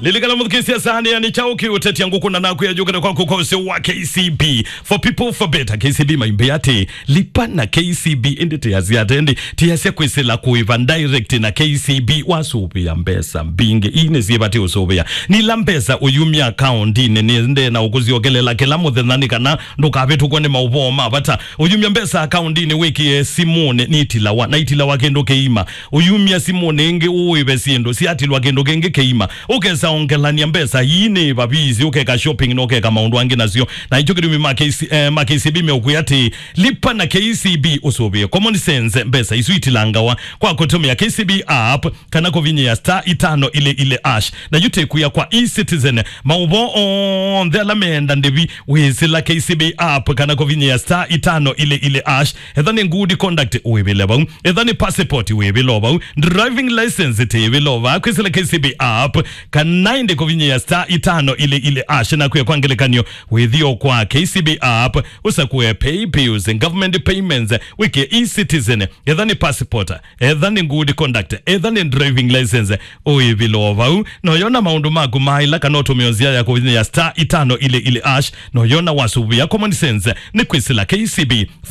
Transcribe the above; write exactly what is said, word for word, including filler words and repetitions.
Lilikana mũthukĩĩsya saanĩa nĩ kyaũ kĩũtetya ngũkũ na nakwĩa yũkĩte kwaku kwa ũseo wa K C B. For people for better, K C B maimbĩ atĩ, lipa na K C B, ĩndĩ tĩasya atĩ, ĩndĩ tĩasya kwĩsĩla kũĩva direct na K C B wasũvĩa mbesa mbingĩ. Ii nĩ syĩva tĩ ũsũvĩa. Nĩ ila mbesa ũyumya akaũndinĩ nĩ ndĩ na ũkũsyokelela kĩla mũthenya nĩ kana ndũkavĩtũkwe nĩ maũvoo ma vata. Ũyumya mbesa akaũndinĩ wĩkĩe simũnĩ nĩ itilawa, na itilawa kĩndũ kĩima. Ũyumya simũnĩ ĩngĩ ũĩve syĩndũ syatilwa kĩndũ kĩngĩ kĩima. Ũkesa ongelany'a mbesa ii nĩ vavisi, ũkeka shopping na ũkeka maũndũ angĩ nasyo. Na ikyo kĩtumi ma K C, eh, ma K C B meũkwĩa atĩ, lipa na K C B ũsũvĩe. Common sense, mbesa isu itilangawa kwa kũtũmĩa K C B app kana kũvinyĩa star itano ile ile hash. Na yu tĩkwĩa kwa eCitizen, maũvoo onthe ala meenda ndĩvi wĩsĩla K C B app kana kũvinyĩa star itano ile ile hash. Etha nĩ good conduct wĩvĩle vau. Etha nĩ passport wĩvĩle o vau. Driving license tĩvĩle o vaa kwĩsĩla K C B app. Kana ĩndĩ kũvinyĩa star itano ile ile hash na kwĩa kwa ngelekany'o wĩthio kwa K C B app. Ũsakũe pay bills, government payments, wĩke eCitizen. Etha nĩ passport, etha nĩ good conduct, etha nĩ driving license, ũĩvĩle o vau. No yona maũndũ maku maĩla kana ũtũmĩo nzĩa ya kũvinyĩa star itano ile ile hash. No yona wasũvĩa common sense nĩ kwĩsĩla K C B.